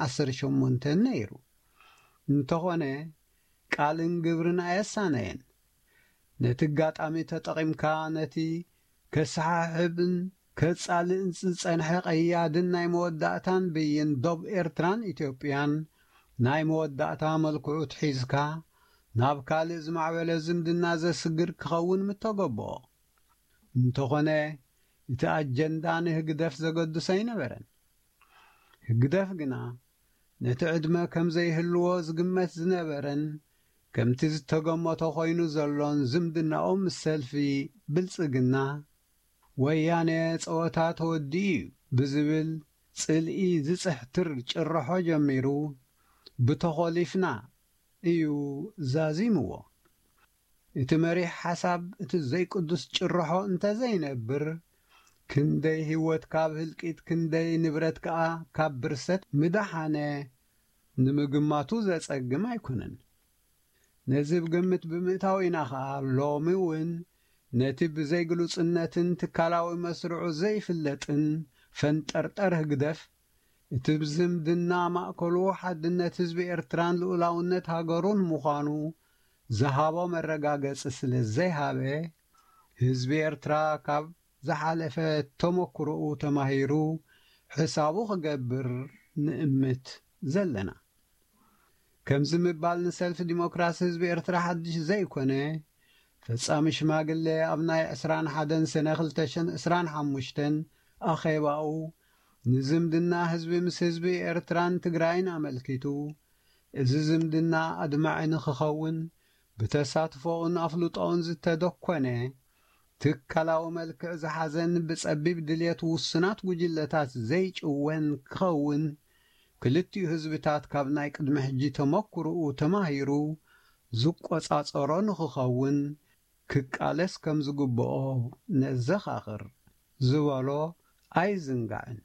ዓሰርተ ሸሞንተ ነይሩ። እንተኾነ ቃልን ግብርን ኣየሳነየን። ነቲ ኣጋጣሚ ተጠቒምካ ነቲ ከሰሓሕብን ከጻልእን ዝጸንሐ ቀያድን ናይ መወዳእታን ብይን ዶብ ኤርትራን ኢትዮጵያን ናይ መወዳእታ መልክዑ ትሒዝካ ናብ ካልእ ዝማዕበለ ዝምድና ዘስግር ክኸውን ምተገበኦ። እንተኾነ እቲ ኣጀንዳ ንህግደፍ ዘገድሶ ኣይነበረን። ህግደፍ ግና ነቲ ዕድመ ከም ዘይህልዎ ዝግመት ዝነበረን ከምቲ ዝተገመቶ ኮይኑ ዘሎን ዝምድናኡ ምስ ሰልፊ ብልጽግና ወያነ ጸወታ ተወዲኡ እዩ ብዝብል ጽልኢ ዝጽሕትር ጭርሖ ጀሚሩ ብተኾሊፍና እዩ ዛዚምዎ። እቲ መሪሕ ሓሳብ እቲ ዘይቅዱስ ጭርሖ እንተዘይነብር ክንደይ ህይወት ካብ ህልቂት ክንደይ ንብረት ከኣ ካብ ብርሰት ምዳሓነ ንምግማቱ ዘጸግም ኣይኮነን። ነዚ ብግምት ብምእታው ኢና ኸኣ ሎሚ እውን ነቲ ብዘይግሉጽነትን ትካላዊ መስርዑ ዘይፍለጥን ፈንጠርጠር ህግደፍ እቲ ብዝምድና ማእከሉ ሓድነት ህዝቢ ኤርትራን ልኡላውነት ሃገሩን ምዃኑ ዝሃቦ መረጋገጺ ስለ ዘይሃበ ህዝቢ ኤርትራ ካብ ዝሓለፈ ተመክሮኡ ተማሂሩ ሕሳቡ ክገብር ንእምት ዘለና። ከምዚ ምባል ንሰልፊ ዲሞክራሲ ህዝቢ ኤርትራ ሓድሽ ዘይኮነ፣ ፈጻሚ ሽማግለ ኣብ ናይ ዕስራን ሓደን ሰነ ክልተ ሽሕን ዕስራን ሓሙሽተን ኣኼባኡ ንዝምድና ህዝቢ ምስ ህዝቢ ኤርትራን ትግራይን ኣመልኪቱ፣ እዚ ዝምድና ኣድማዒ ንክኸውን ብተሳትፎኡን ኣፍልጦኡን ዝተደኮነ ትካላዊ መልክዕ ዝሓዘን ብጸቢብ ድልየት ውሱናት ጉጅለታት ዘይጭወን ክኸውን ክልቲኡ ህዝብታት ካብ ናይ ቅድሚ ሕጂ ተመክሮኡ ተማሂሩ ዝቆጻጸሮ ንክኸውን ክቃለስ ከም ዝግብኦ ነዘኻኽር ዝበሎ ኣይዝንጋዕን።